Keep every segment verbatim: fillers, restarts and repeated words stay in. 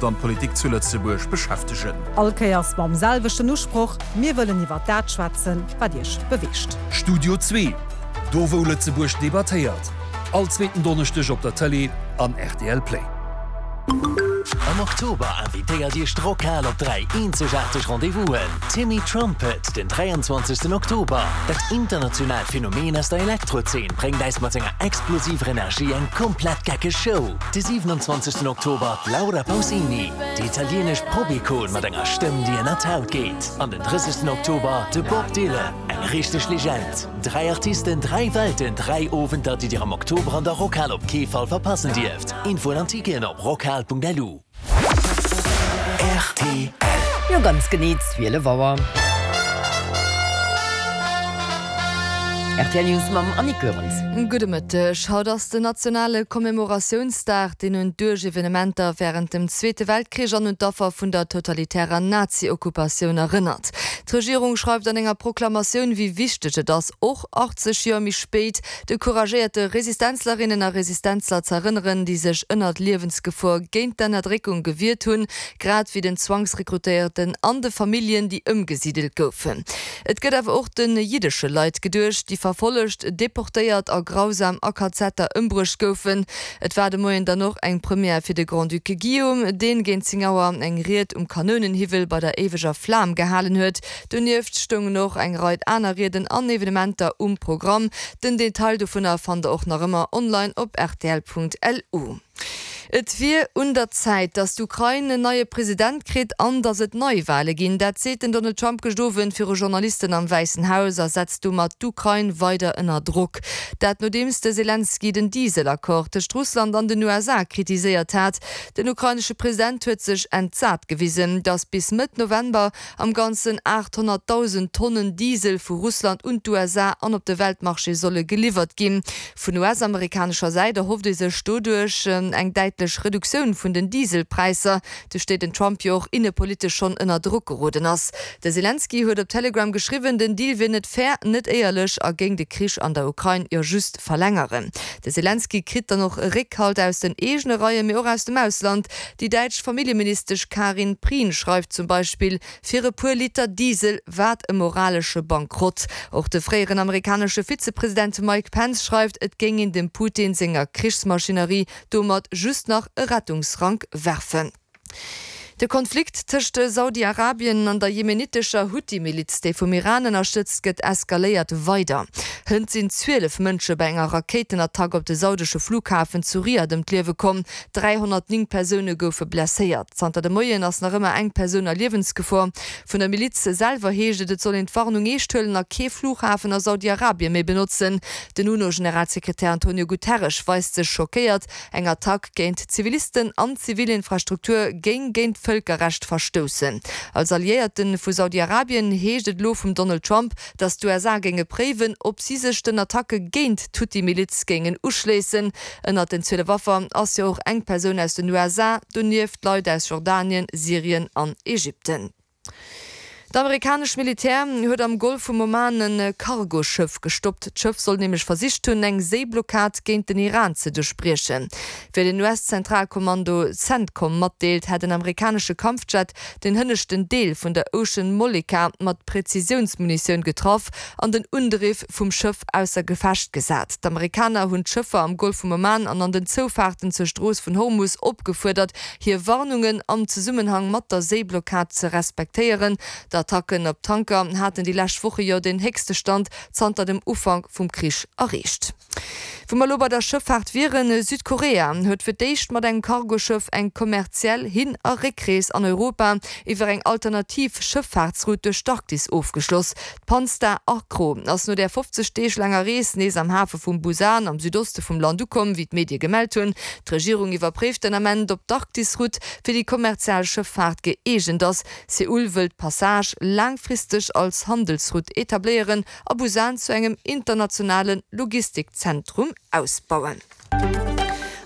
d'Gesellschaft an d'Politik zu Lëtzebuerg beschäftegen. All Kéiers mam selwechten Usproch, mir wëllen iwwer dat schwätzen, wat Iech beweegt. Studio Zwee, do wou Lëtzebuerg debattéiert. All zweeten Donneschdeg op der Tëlee an R T L Play. Am Oktober invitéiert Iech d'Rockhal op dräi eenzegaarteg Rendez-vousen. Timmy Trumpet, den dräianzwanzegsten Oktober. Dat internationaalt Phänomen aus der Elektrozeen bréngt eis mat senger explosiver Energie eng komplett geckeg Show. De siwenanzwanzegsten Oktober d'Laura Pausini, déi italieenesch Pop-Ikon mat enger Stëmm, déi ënner d'Haut geet. An den drëssegsten Oktober de Bob Dylan, eng richteg Legend. Dräi Artisten, dräi Welten, dräi Owenter, déi Dir am Oktober an der Rockhal op kee Fall verpassen dierft. Infoen an Ticketen op rockhal Punkt L U. R T L. Jo, ganz genee zwielef Auer. R T L News mam Annick Goerens. Gudde Mëtteg. Haut ass den nationale Commemoratiounsdag, deen un d'Evenementer wärend dem Zweete Weltkrich an un d'Affer vun der totalitärer Nazi-Okkupatioun erënnert. D'Regierung schreift an enger Proklamatioun, wéi wichteg et ass, och achtzeg Joer méi spéit de couragéierte Resistenzlerinnen a Resistenzler ze erënneren, déi sech ënnert Liewensgefor géint d'Ënnerdréckung gewiert hunn, grad wéi den Zwangsrekrutéierten an de Familljen, déi ëmgesidelt goufen. Et gëtt awer och de jiddesche Leit geduecht, déi verfollegt, deportéiert a grausam a Kazetter ëmbruecht goufen. Et war de Moien dann och eng Première fir de Grand-Duc Guillaume, deen géint zéng Auer eng Ried um Kanounenhiwwel bei der éiweger Flam gehalen huet. Donieft stoungen och eng Rei aner Rieden an Evenementer um Programm. Den Detail dovunner fannt der och nach ëmmer online op R T L Punkt L U. Et wier un der Zäit, datt d'Ukrain en neie President kritt an datt et Neiwale ginn. Dat seet den Donald Trump gëschter Owend viru Journalisten am Wäissen Haus a setzt domat d'Ukrain weider ënner Drock. Dat nodeems de Selenskyj den Dieselaccord tëscht Russland an den U S A kritiséiert hat. Den ukrainesche President huet sech entsat gewisen, datt bis Mëtt November am Ganzen aathonnertdausend Tonnen Diesel vu Russland un d'U S A an op de Weltmarché solle geliwwert ginn. Vun U S-amerikanescher Säit erhofft ee sech doduerch eng däitlech Reduktioun vun den Dieselpräisser, duerch déi den Trump jo och innepolitesch schonn ënner Drock geroden ass. De Selenskyj huet op Telegram geschriwwen, den Deal wier net fair, net éierlech a géing de Krich an der Ukrain jo just verlängeren. De Selenskyj kritt dann och Réckhalt aus den eegene Reien, mee och aus dem Ausland. Déi däitsch Familljeministesch Karin Prien schreift zum Beispill, fir e puer Liter Diesel, wat e moralesche Bankrott. Och de fréieren amerikanesche Vizepresident Mike Pence schreift, et géing een dem Putin senger Krichsmaschinerie domat just nach e Rettungsrank werfen. De Konflikt tëscht Saudi-Arabien an der jemenitescher Huthi-Miliz, déi vum Iran ënnerstëtzt gëtt, eskaléiert weider. Hënt sinn zwielef Mënsche bei enger Rakéitenattack op de saudesche Flughafen zu Riad ëm d'Liewe komm. dräihonnertnéng Persoune goufe blesséiert. Zanter de Moien ass nach ëmmer eng Persoun a Liewensgefor. Vun der Miliz selwer heescht et, et soll een d'Warnung eescht huelen a kee Flughafen a Saudi-Arabie méi benotzen. Den U N O-Generalsekretär Antonio Guterres weist sech schockéiert. Eng Attack géint Zivilisten an Zivilinfrastruktur géing géint Vëlkerrecht verstoussen. Als Alliéierte vu Saudi-Arabien heescht et elo vum Donald Trump, datt d'U S A géinge préiwen, ob si sech den Attacke géint d'Huthi-Miliz géingen uschléissen. Ënnert den zwielef Affer ass jo och eng Persoun aus den U S A, donieft Leit aus Jordanien, Syrien an Ägypten. D'amerikanescht Militär huet am Golf vum Oman e Cargoschëff gestoppt. D'Schëff soll nämlech versicht hunn, eng Séiblockad géint den Iran ze duerchbriechen. Wéi den U S-Zentralkommando CENTCOM matdeelt, hätt en amerikanesche Kampfjet den hënneschten Deel vun der Ocean Molika mat Prezisiounsmunitioun getraff an den Undriff vum Schëff ausser Gefecht gesat. D'Amerikaner hunn d'Schëffer am Golf vum Oman an an den Zoufaarten zur Strooss vun Hormus opgefuerdert, hir Warnungen am Zesummenhang mat der Séiblockad ze respektéieren. D'Attacken op Tanker haten déi lescht Woche jo den héchste Stand zanter dem Ufank vum Krich erreecht. Wou mer elo bei der Schëffaart wieren, Südkorea huet fir d'éischt mat engem Cargoschëff eng kommerziell Hin a Réckrees an Europa iwwer eng alternativ Schëffaartsroute duerch d'Arktis ofgeschloss. D'Panstar Acro ass no der fofzeg Deeg laanger Rees nees am Hafe vum Busan am Südoste vum Land ukomm, wéi d'Medie gemellt hunn. D'Regierung iwwerpréift den Ament, ob d'Arktisroute fir déi kommerziell Schëffaart gëeegent ass. Seoul wëll d'Passage laangfristeg als Handelsroute etabléieren a Busan zu engem internationale Logistikzentrum ausbauen.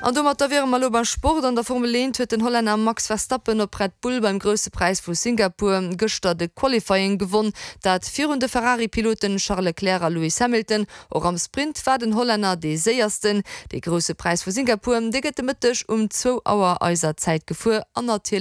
An domat wiere mer elo beim Sport. An der Formel eent huet den Hollänner Max Verstappen op Red Bull beim Grousse Präis vu Singapur gëschter de Qualifying gewonn, dat virun de Ferrari-Piloten Charles Leclerc a Lewis Hamilton. Och am Sprint war den Hollänner dee Séiersten. De Grousse Präis vu Singapur, dee gëtt de Mëtteg um zwou Auer eiser Zäit gefuer an natierlech